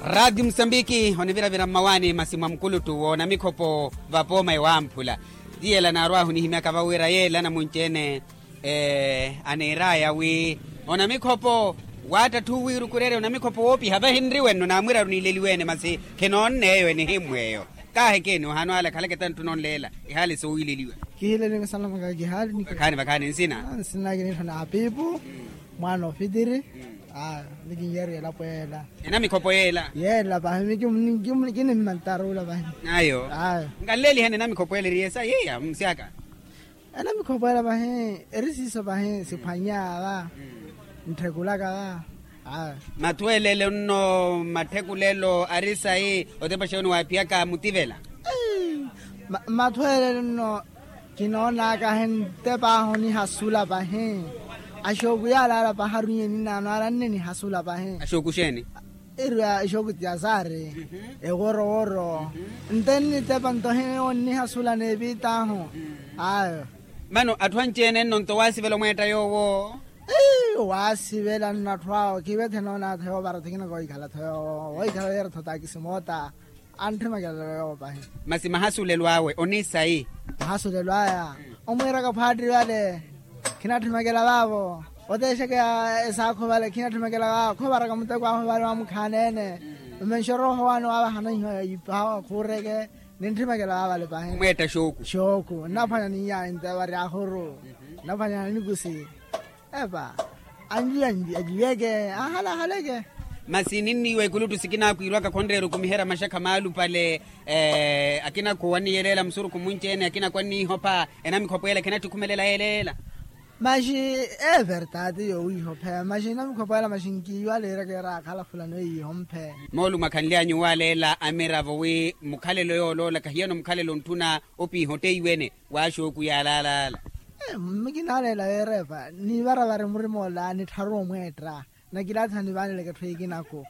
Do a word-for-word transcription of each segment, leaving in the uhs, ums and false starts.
Raati musambiki oniviravira mmawaani masi mwa mukuluttu w'onamikhopo vapooma ewamphula. Ti yeela naarwahu nihimyaka vawira yeela namunci-ene aniiraya wi onamikhopo waattatthu wiirukurerya onamikhopo woopiha vahinriwe nno naamwiraru niileliwe-ene masi khinoonne eyo enihimmw'eyo. Kaahekeni ohano ale akhaleke tanttu nonleela. Ehaali soowiileliwa. Kihilelinga sanamaka kihaali ni vakhaani vakhaani nsina. Nsina kiniittha na apiipu mwaana ofitiri. Aa ni kinyeeriwa elapo yeela. Enamikhopo yeela. Yeela pahi mi kinimmantarula pahi. Ayo. Nkanleeliheni enamikhopo yeela eri esa yiiya musyaka. Enamikhopo yeela pahi eri siiso pahi siphwanya va. Ntthikulaka va. Mathweelelo nno matthikulelo ari sayi otepa xeeni waaphiyaka mutivela. Mathweelelo nno kinoonaka ahi ntepa ahu onihasula pahi. Axooku yaalaala pahi arunye ninaano alanne nihasula pahi. Axooku xeeni? Eriwa exooku ti azaari. Eworoworo nte nnitepa nto ahi onnihasula n'epiita ahu. Ayo. Mano atthu anci-ene nno nto waasivela omweetta yoowo. Waasivela nno atthu awo kiiwe thenoonatho yoovara tho kina koohikhala tho yoowo woohikhala weera tho taakisi moota. Antthimakelela yoowo pahi. Masi mahasulelo awe onisayi? Mahasulelo aya omwiiraka phaattiri vale. Khinatthimakela vaavo oteexeke esaakho vale khinatthimakela vaavo khovaraka muteko ahu vale wamukhaana-ene. Mmenxoro ohowaani waavahana iho yiiphawa khuureke. Nintthimakela vaavale pahi. Omweetta xooku. Xooku nnaphwanya niiya nte vari ahuru. Nnaphwanya nikusi. Epa anjiyanji ajiweke ahalahaleke. Masi ninniiwa ekuluttu sikinaakwiirwaka khonreera okumiherya maxakha maalupale. Akina khuwaniyeleela musurukhu munci-ene akina khwanniihopha. Enamikhopo ela khinattikhumelela yeleela. Maxi eevertaati yoowiihopheya maxi enamikhopo ela maxi nkiiwaleeryaka eraakhala fulano eiihomphe. Moolumo akhanly'anyu waaleela amiravo wi mukhalelo yooloola kahiyano mukhalelo ontthuna opiiha otteiwene. Waaxooku yaalaalaala. Mmi kinaaleela weerepa niivaravari murima ola nittharu omweetta. Nakilaatha nivaaneleke etthu ekinaku.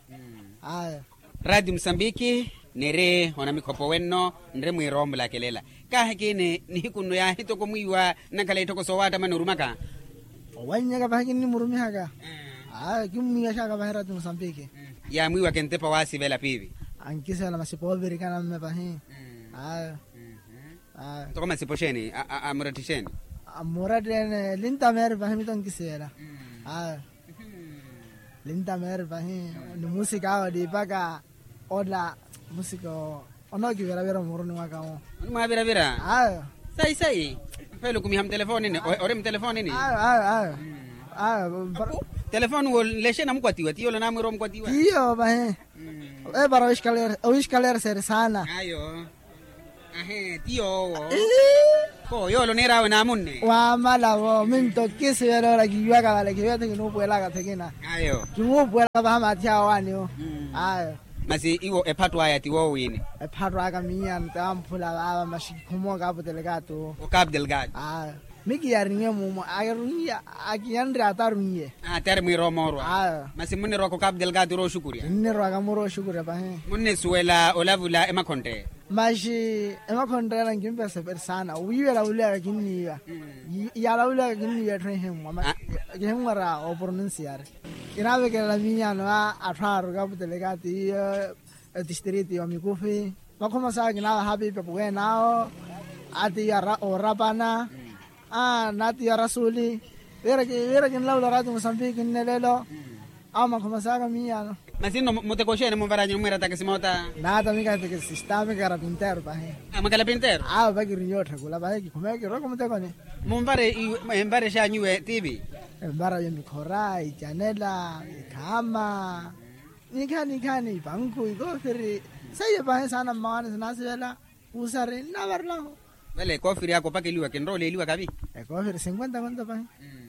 Aya. Raati musambiki niri onamikhopo wenno nri mwiira omulakelela. Kaahekini nihiku nno yaahi toko mwiiwa nnakhala itthoko soowattamani orumaka. Owannyaka pahi kinnimurumihaka. Aya kimmwiiwaxaka pahi raati musambiki. Yaamwiiwaka entepa waasivela piivi. Ankisivela masipo oovirikana mme pahi. Aya. Ntoko masipo xeeni? Amuratthi xeeni? Amuratthi ene lintameeri pahi mito nkisivela. Aya. Lintameeri pahi. Ni musika awo liipaka ola musika onookiviravira omuruni mwaka wo. Onimwaviravira? Ayo. Sayi sayi. Mphelo okumiha mutelefonini ori mutelefonini? Ayo ayo ayo. Ayo. Telefooni wo nlexe namukwatiwa tiyo ola naamwiira omukwatiwa. Tiyo pahi. Epara owixikalere owixikalere seri saana. Ayo. Ahe ti yoowo. Kho yoole oniir'awe naamunne. Waamala vo minto kisivelola kiiwaka vale kiiwethe kinuupuwelaka thekina. Ayo. Kimuupuwela vaha maathi awo waaniwo. Ayo. Masi iwo ephatto aya ti woowini? Ephatto aka miiyano ti amphula vaava maxi kikhumoka aputelekatu. Okapu delgado. Ayo. Mikiyarinye mumo akirunye. Akiyanre atarunye. Atari mwiira omoorwa. Masi munirwaka okapu delgado orooxukurya? Nnirwaka murooxukurya pahi. Munnisuwela olavula emakhontte? Maxi emakhontte yala nkimpesa peri saana wiiwa elavuliyaka kinniiwa. Yalavuliwaka kinniiwa etthu ehimmwa kihimmwara opronunciar. Kinaavekelela miiyano a atthu aaruka aputelekatu iyo. Etistriti wa mikufi. Makhomo sawe kinaavaha piipi apuwene awo. Ati ya orapana. Aa nati ya rasuli. Wira kinlavula rati musambiki nnelelo. Awo makhomo sawe kamiiyano. Masi nno muteko oxeene munvaranyu onimwiira takisi moota? Naata mika takisi sita mikara pinteru pahi. Mwikala pinteru? Awo vakirinya otthekula pahi kikhumeya kiroko mutekoni. Munvare envare xanyu iwe tiipi? Envara yo mikhora icanela ikhaama. Nikhaani nikhaani ipankhu ikoofiri. Seiyo pahi saana mmawaani sinaasivela. Kuusari nnaavarilahu. Vale ekoofiri aka opakeliwa kinrooleliwa kavi. Ekoofiri sinkwenta konto pahi.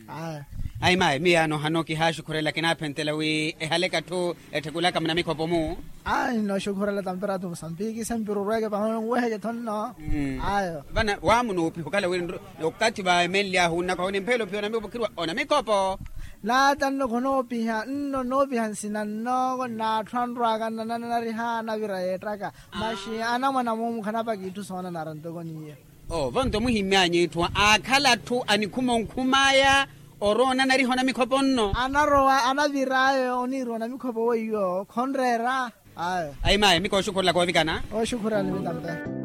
Aya. Ayi mayi miyaano hano kihaaxukhurela kinaaphentela wi ehaleka-tho etthekulaka munamikhopo-mu. Ayi nooxukhurela tampira atu musambiki sempirurweke pahi onweheke-tho nno. Ayo. Vana waamunoopiha okhala wi okathi va emenly'ahu nnakwaha onimphela ophiya onamikhopo khiriwa onamikhopo. Naata nno khonoopiha nno noopiha nsina nnooko n'atthu anrwaka nnananariha anavira yeettaka. Maxi anamwana moomu khanapaka itthu soonanara ntoko n'iyo. Ovo nto muhimmyanyu itthu aakhala atthu anikhuma onkhum'aya. Orowa onanariha onamikhopo nno. Anarowa anavir'aya oniira onamikhopo weiwo khonreera. Ayi mayi mi kooxukhurela koovikana. Ooxukhurela ni mitampe.